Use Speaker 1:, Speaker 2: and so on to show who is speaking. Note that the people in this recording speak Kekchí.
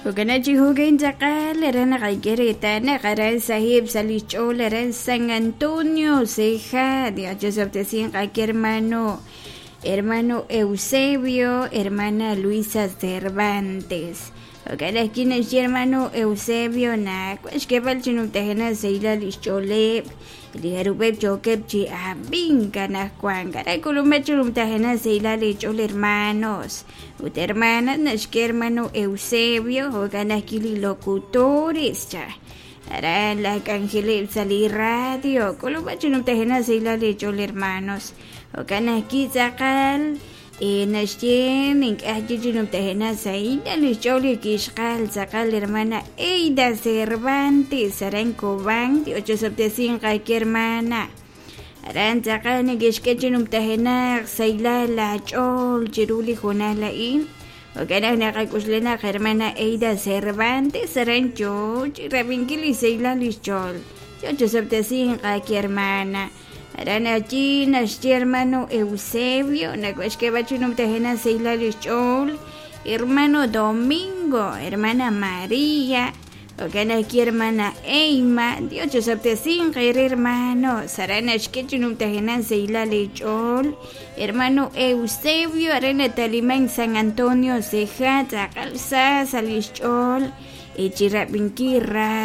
Speaker 1: Jo'kan chi jo'kan tz'aqal aran naqak'e reetal naq aran saheb' sa' li xch'ool aran San Antonio Ceja Dios chosob'tesinq ake hermano hermano Eusebio hermana Luisa Cervantes jo'kan ajwi' naxye hermano Eusebio naq wan xk'eeb'al chi numtajenaq sahilal li xch'ooleb' li jarub'eb' yookeb' chi ab'ink anaqwan aran k'ulumej chi numtajenaq sahilal li ch'ool hermanos ut hermanas naxk'e hermano Eusebio jo'kan ajwi' li locutores cha aran laj k'anjeleb' sa' li radio k'ulumej chi numtajenaq sahilal li ch'ool hermanos jo'kan ajwi' tz'aqal naxye ink'a' ajwi' chi numtajenaq sahilal li xch'ool li kixqal tz'aqal hermana Eida Cervantes aran Cobán Dios chosob'tesinq ake hermana aran tz'aqal neke'xk'e chi numtajenaq sahilal la ch'ool chiru li hoonal a'in jo'kan naq naqak'uxla naq hermana Eida Cervantes aran yoo chi rab'inkil li sahilal li xch'ool Dios chosob'tesinq ake hermana aran allí naxye hermano Eusebio nak'uxk'eeb'al chi numtajenaq sahilal li xch'ool hermano Domingo hermana María jo'kan ajwi' hermana Eima Dios chosob'tesinq eere hermano aran naxk'e chi numtajenaq sahilal li ch'ool hermano Eusebio aran nataliman San Antonio Ceja tz'aqal sa sa' li xch'ool chirab'inkil ra.